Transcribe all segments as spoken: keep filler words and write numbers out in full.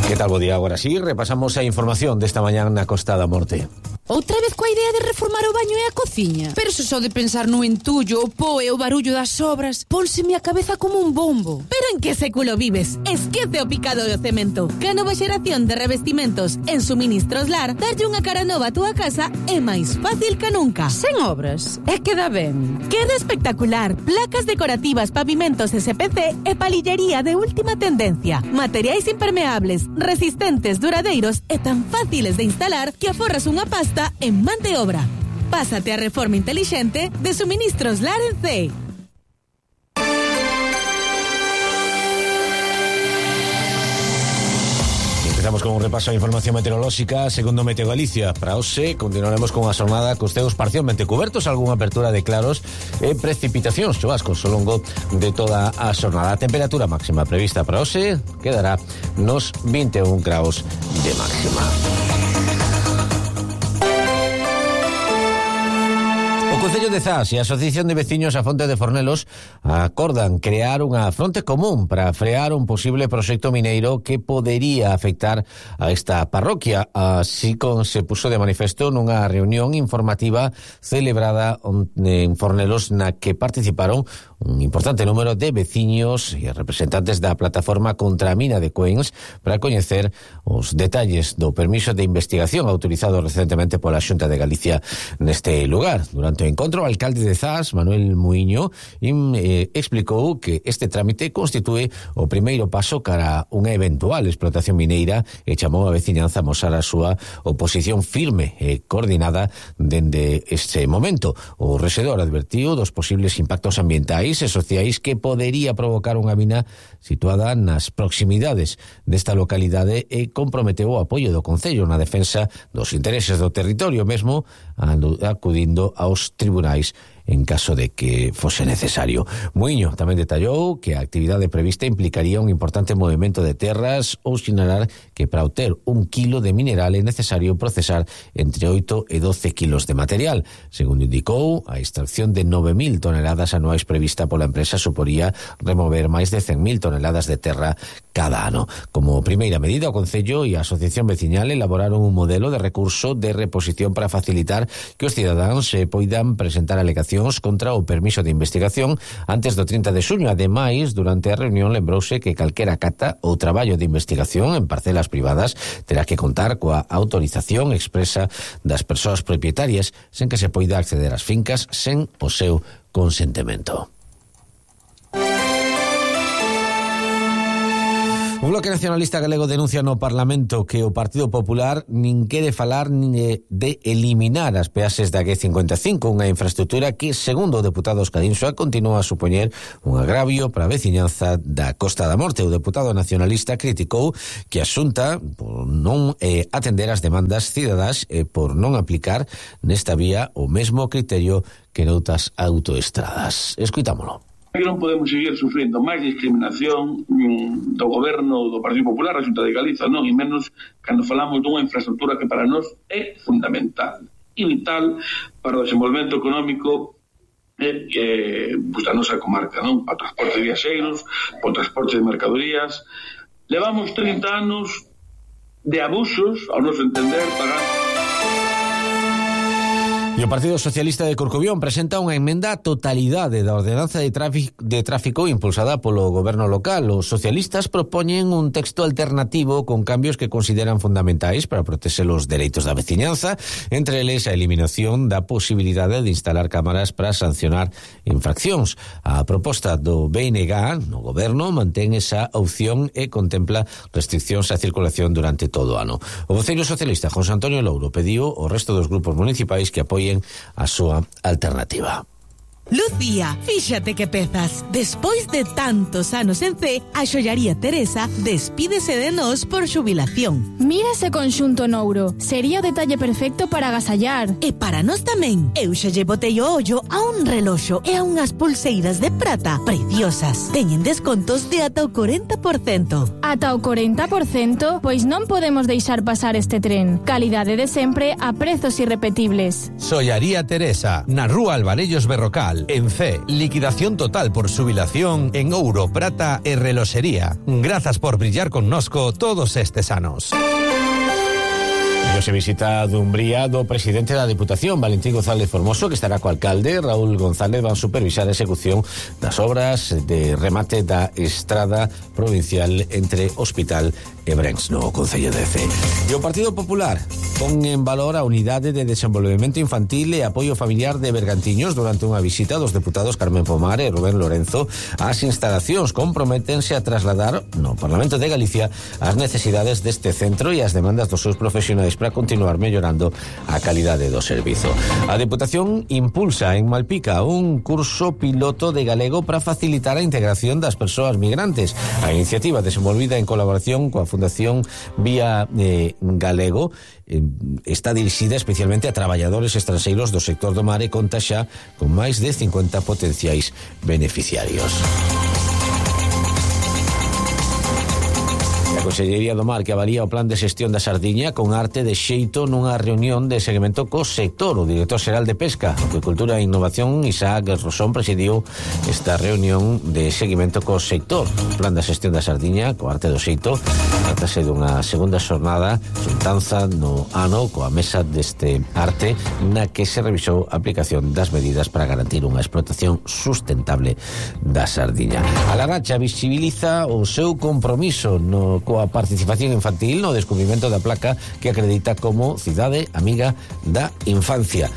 Que tal, bo día? Agora sí, repasamos a información desta mañá na Costa da Morte. Outra vez coa idea de reformar o baño e a cociña. Pero se só de pensar no entullo, o po e o barullo das obras, pónseme a cabeza como un bombo. Pero en que século vives? Esquece o picado do cemento. Que a nova xeración de revestimentos en Suministros Lar, darlle unha cara nova a túa casa é máis fácil que nunca. Sen obras, é que dá ben. Queda espectacular. Placas decorativas, pavimentos S P C e palillería de última tendencia. Materiais impermeables, resistentes, duradeiros e tan fáciles de instalar que aforras unha pasta en man de obra. Pásate a reforma inteligente de Suministros Lar en C. Empezamos con un repaso a información meteorolóxica. Segundo Meteo Galicia, para hoxe continuaremos con a xornada cos ceos parcialmente cubertos, algunha apertura de claros e precipitacións chubascos ao longo de toda a xornada. A temperatura máxima prevista para hoxe quedará nos vinte e un graus de máxima. O Concello de Zas e a Asociación de Veciños a Fonte de Fornelos acordan crear unha fronte común para frear un posible proxecto mineiro que podería afectar a esta parroquia. Así como se puso de manifesto nunha reunión informativa celebrada en Fornelos na que participaron un importante número de veciños e representantes da plataforma contra a mina de Cuens para coñecer os detalles do permiso de investigación autorizado recentemente pola Xunta de Galicia neste lugar. Durante o encontro, o alcalde de Zas, Manuel Muiño, eh, explicou que este trámite constitúe o primeiro paso cara unha eventual explotación mineira e chamou a veciñanza a mostrar a súa oposición firme e coordinada dende este momento. O rexedor advertiu dos posibles impactos ambientais e sociais que podería provocar unha mina situada nas proximidades desta localidade e comprometeu o apoio do Concello na defensa dos intereses do territorio, mesmo acudindo aos tribunais en caso de que fose necesario. Muiño tamén detallou que a actividade prevista implicaría un importante movimento de terras ou sinalar que para obter un kilo de mineral é necesario procesar entre oito e doce kilos de material. Segundo indicou, a extracción de nove mil toneladas anuais prevista pola empresa suporía remover máis de cen mil toneladas de terra cada ano. Como primeira medida, o Concello e a Asociación Veciñal elaboraron un modelo de recurso de reposición para facilitar que os cidadáns se poidan presentar alegacións contra o permiso de investigación antes do trinta de xuño. Ademais, durante a reunión lembrouse que calquera cata ou traballo de investigación en parcelas privadas terá que contar coa autorización expresa das persoas propietarias sen que se poida acceder ás fincas sen o seu consentimento. O Bloque Nacionalista Galego denuncia no Parlamento que o Partido Popular nin quere falar nin de eliminar as peaxes da G cincuenta e cinco, unha infraestructura que, segundo o deputado Óscar Insua, continúa a supoñer un agravio para a veciñanza da Costa da Morte. O deputado nacionalista criticou que a Xunta por non eh, atender as demandas cidadás e por non aplicar nesta vía o mesmo criterio que noutras autoestradas. Escuitámolo. Non podemos seguir sufrindo máis discriminación mm, do goberno do Partido Popular, a Xunta de Galiza, non, e menos cando falamos dunha infraestructura que para nós é fundamental e vital para o desenvolvemento económico eh, eh, pues, da nosa comarca, non? Para o transporte de viaxeiros, para o transporte de mercadorías. Levamos trinta anos de abusos, ao noso entender, para... E o Partido Socialista de Corcubión presenta unha emenda á totalidade da ordenanza de tráfico, de tráfico impulsada polo goberno local. Os socialistas propoñen un texto alternativo con cambios que consideran fundamentais para protexer os dereitos da veciñanza, entre eles a eliminación da posibilidade de instalar cámaras para sancionar infraccións. A proposta do B N G no goberno mantén esa opción e contempla restriccións á circulación durante todo o ano. O voceiro socialista José Antonio Louro pediu ao resto dos grupos municipais que apoien a súa alternativa. Lucía, fíxate que pezas. Despois de tantos anos en C, a xollaría Teresa despídese de nós por xubilación. Mira ese conxunto nouro. Sería o detalle perfecto para agasallar. E para nós tamén. Eu xa lle botei o ollo a un reloxo e a unhas pulseiras de prata preciosas. Teñen descontos de ata o corenta por cento. Ata o corenta por cento? Pois non podemos deixar pasar este tren. Calidade de sempre a prezos irrepetibles. Xollaría Teresa, na rúa Alvarellos Berrocal. Naval, en C, liquidación total por jubilación en ouro, prata e reloxería. Grazas por brillar connosco todos estes anos. E se visita a Dumbría do presidente da Diputación, Valentín González Formoso, que estará co alcalde Raúl González, van supervisar a execución das obras de remate da estrada provincial entre Hospital e Brens no Concello de Cee. E o Partido Popular pon en valor a unidade de desenvolvemento infantil e apoio familiar de Bergantiños durante unha visita dos deputados Carmen Pomar e Rubén Lorenzo ás instalacións. Comprométense a trasladar no Parlamento de Galicia as necesidades deste centro e as demandas dos seus profesionais para continuar mellorando a calidade do servizo. A Deputación impulsa en Malpica un curso piloto de galego para facilitar a integración das persoas migrantes. A iniciativa desenvolvida en colaboración coa Fundación Vía eh, Galego eh, está dirixida especialmente a traballadores estranxeiros do sector do mar e conta xa con máis de cincuenta potenciais beneficiarios. A Consellería do Mar que avalía o plan de xestión da sardiña con arte de xeito nunha reunión de seguimento co sector. O director xeral de Pesca, Acuicultura e Innovación, Isaac Rosón, presidiu esta reunión de seguimento co sector. O plan de xestión da sardiña co arte do xeito tratase dunha segunda xornada xuntanza no ano coa mesa deste arte na que se revisou a aplicación das medidas para garantir unha explotación sustentable da sardiña. A Laracha visibiliza o seu compromiso no coa participación infantil no descubrimento da placa que acredita como cidade amiga da infancia.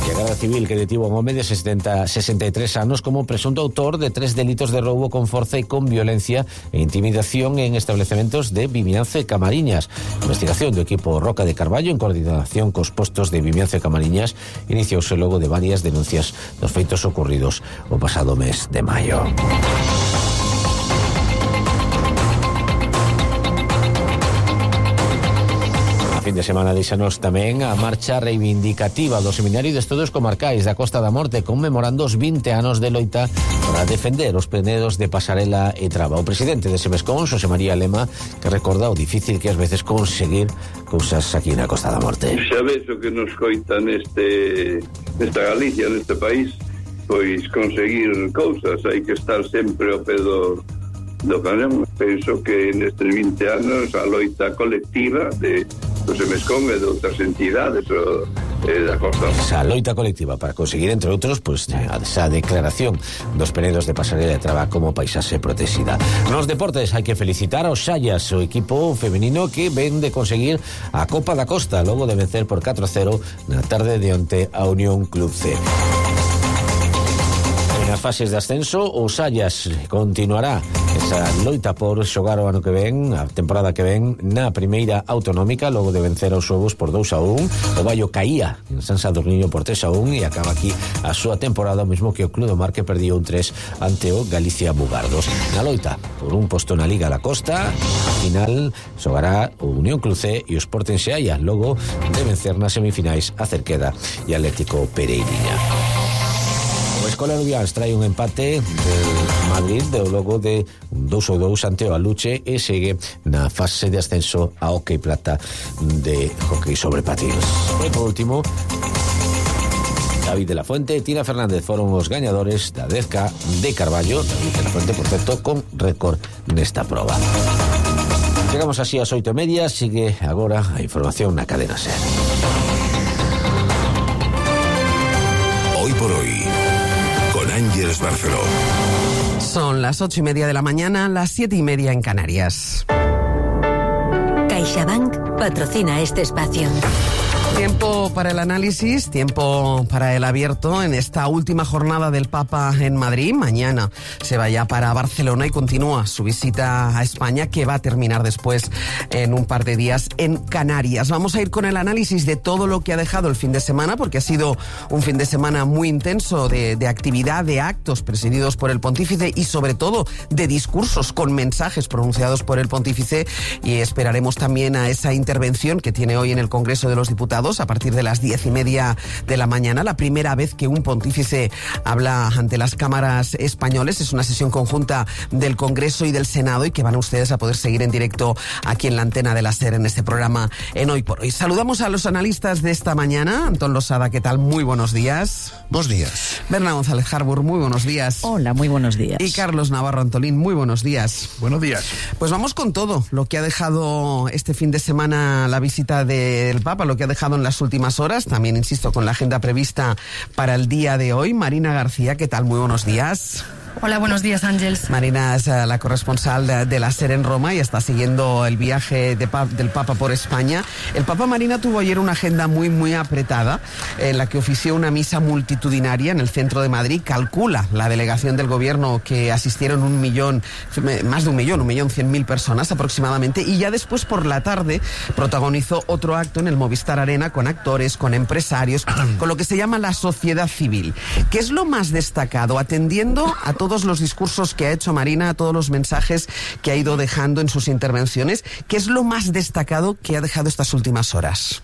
E a Garda Civil que detivo a un home de sesenta, sesenta e tres anos como presunto autor de tres delitos de roubo con forza e con violencia e intimidación en establecementos de Vimianzo e Camariñas. A investigación do equipo Roca de Carballo en coordinación cos postos de Vimianzo e Camariñas iniciouse logo de varias denuncias dos feitos ocurridos o pasado mes de maio. Fin de semana deixanos tamén a marcha reivindicativa do Seminario de Estudos Comarcais da Costa da Morte conmemorando os vinte anos de loita para defender os penedos de Pasarela e Traba. O presidente de Semescón, Xosé María Lema, que recorda o difícil que ás veces conseguir cousas aquí na Costa da Morte. Xa ves o que nos coita neste nesta Galicia, neste país, pois conseguir cousas, hai que estar sempre ao pé do do canón. Penso que nestes vinte anos a loita colectiva de do Semescón e de outras entidades o, eh, da Costa. Esa loita colectiva para conseguir, entre outros, pues, esa declaración dos penedos de Pasarela e Traba como paisaxe protexida. Nos deportes hai que felicitar aos Xallas, o equipo femenino que ven de conseguir a Copa da Costa logo de vencer por catro a cero na tarde de onte a Unión Club C. Nas fases de ascenso, o Xallas continuará esa loita por xogar o ano que ven, a temporada que ven, na primeira autonómica, logo de vencer aos Xogos por dous a un. O Baio caía en San Sadurniño por tres a un e acaba aquí a súa temporada, o mesmo que o Club do Mar que perdió un tres ante o Galicia Bugardos. Na loita por un posto na Liga da Costa, a final xogará o Unión Club C e o Sporting Xeaya, logo de vencer nas semifinais a Cerqueda e Atlético Pereiriña. O Escola Lubians trae un empate del Madrid de logo de un dous a dous ante o Aluche e segue na fase de ascenso a Hockey Plata de hockey sobre patins. E por último, David de la Fuente e Tina Fernández foron os gañadores da dez K de Carballo. David de la Fuente, por certo, con récord nesta proba. Chegamos así ás oito e media, sigue agora a información na cadena SER. Hoy por hoy, con Ángeles Barceló. Son las ocho y media de la mañana, las siete y media en Canarias. CaixaBank patrocina este espacio. Tiempo para el análisis, tiempo para el abierto en esta última jornada del Papa en Madrid. Mañana se va ya para Barcelona y continúa su visita a España, que va a terminar después en un par de días en Canarias. Vamos a ir con el análisis de todo lo que ha dejado el fin de semana, porque ha sido un fin de semana muy intenso de, de actividad, de actos presididos por el pontífice y sobre todo de discursos con mensajes pronunciados por el pontífice, y esperaremos también a esa intervención que tiene hoy en el Congreso de los Diputados Diputados a partir de las diez y media de la mañana. La primera vez que un pontífice habla ante las cámaras españoles. Es una sesión conjunta del Congreso y del Senado y que van ustedes a poder seguir en directo aquí en la antena de la SER en este programa en Hoy por Hoy. Saludamos a los analistas de esta mañana. Antón Losada, ¿qué tal? Muy buenos días. Buenos días. Berna González Harbour, muy buenos días. Hola, muy buenos días. Y Carlos Navarro Antolín, muy buenos días. Buenos días. Pues vamos con todo lo que ha dejado este fin de semana la visita del Papa, lo que ha dejado en las últimas horas. También, insisto, con la agenda prevista para el día de hoy. Marina García, ¿qué tal? Muy buenos días. Hola, buenos días, Ángels. Marina es uh, la corresponsal de, de la SER en Roma y está siguiendo el viaje de pa del Papa por España. El Papa, Marina, tuvo ayer una agenda muy, muy apretada en la que ofició una misa multitudinaria en el centro de Madrid. Calcula la delegación del gobierno que asistieron un millón, más de un millón, un millón cien mil personas aproximadamente. Y ya después, por la tarde, protagonizó otro acto en el Movistar Arena con actores, con empresarios, con lo que se llama la sociedad civil. ¿Qué es lo más destacado? Atendiendo a todo todos los discursos que ha hecho Marina, a todos los mensajes que ha ido dejando en sus intervenciones, ¿qué es lo más destacado que ha dejado estas últimas horas?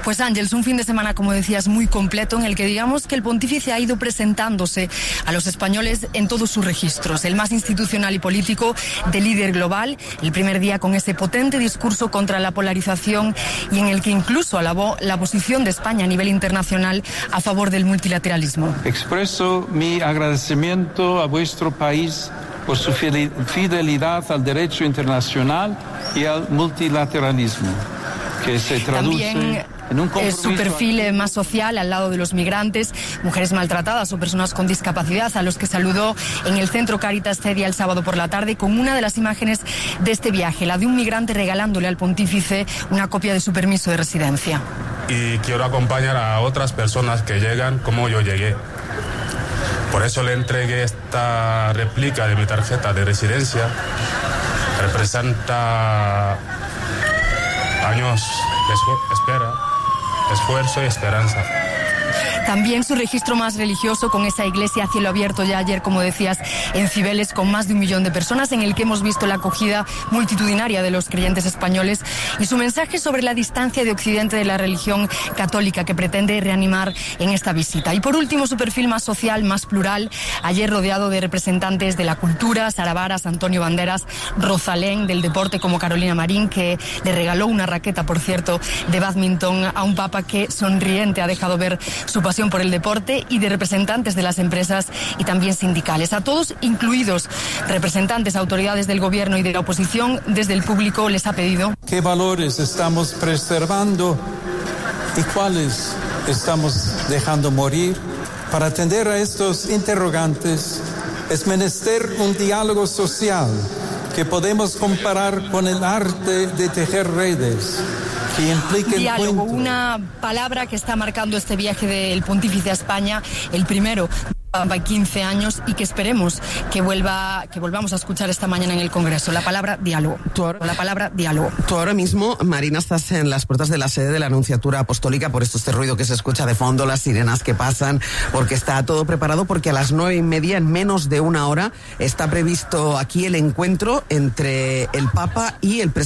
Pues Ángels, un fin de semana, como decías, muy completo en el que digamos que el pontífice ha ido presentándose a los españoles en todos sus registros, el más institucional y político, de líder global, el primer día con ese potente discurso contra la polarización y en el que incluso alabó la posición de España a nivel internacional a favor del multilateralismo. Expreso mi agradecimiento a vuestro país por su fidelidad al derecho internacional y al multilateralismo, que se traduce También en un compromiso. Su perfil más social al lado de los migrantes, mujeres maltratadas o personas con discapacidad, a los que saludó en el Centro Caritas Cedia el sábado por la tarde con una de las imágenes de este viaje, la de un migrante regalándole al pontífice una copia de su permiso de residencia. Y quiero acompañar a otras personas que llegan como yo llegué. Por eso le entregué esta réplica de mi tarjeta de residencia. Representa años de espera, esfuerzo y esperanza. También su registro más religioso con esa iglesia a cielo abierto ya ayer, como decías, en Cibeles, con más de un millón de personas, en el que hemos visto la acogida multitudinaria de los creyentes españoles y su mensaje sobre la distancia de Occidente de la religión católica que pretende reanimar en esta visita. Y por último, su perfil más social, más plural, ayer rodeado de representantes de la cultura, Sara Varas, Antonio Banderas, Rosalén, del deporte como Carolina Marín, que le regaló una raqueta, por cierto, de bádminton a un papa que sonriente ha dejado ver su pasión por el deporte, y de representantes de las empresas y también sindicales. A todos, incluidos representantes, autoridades del gobierno y de la oposición, desde el público les ha pedido: ¿qué valores estamos preservando y cuáles estamos dejando morir? Para atender a estos interrogantes es menester un diálogo social que podemos comparar con el arte de tejer redes. Diálogo, una palabra que está marcando este viaje del pontífice a España, el primero de quince años, y que esperemos que vuelva, que volvamos a escuchar esta mañana en el Congreso. La palabra diálogo. Ahora, la palabra diálogo. Tú ahora mismo, Marina, estás en las puertas de la sede de la Anunciatura Apostólica, por esto este ruido que se escucha de fondo, las sirenas que pasan, porque está todo preparado, porque a las nueve y media, en menos de una hora, está previsto aquí el encuentro entre el Papa y el presidente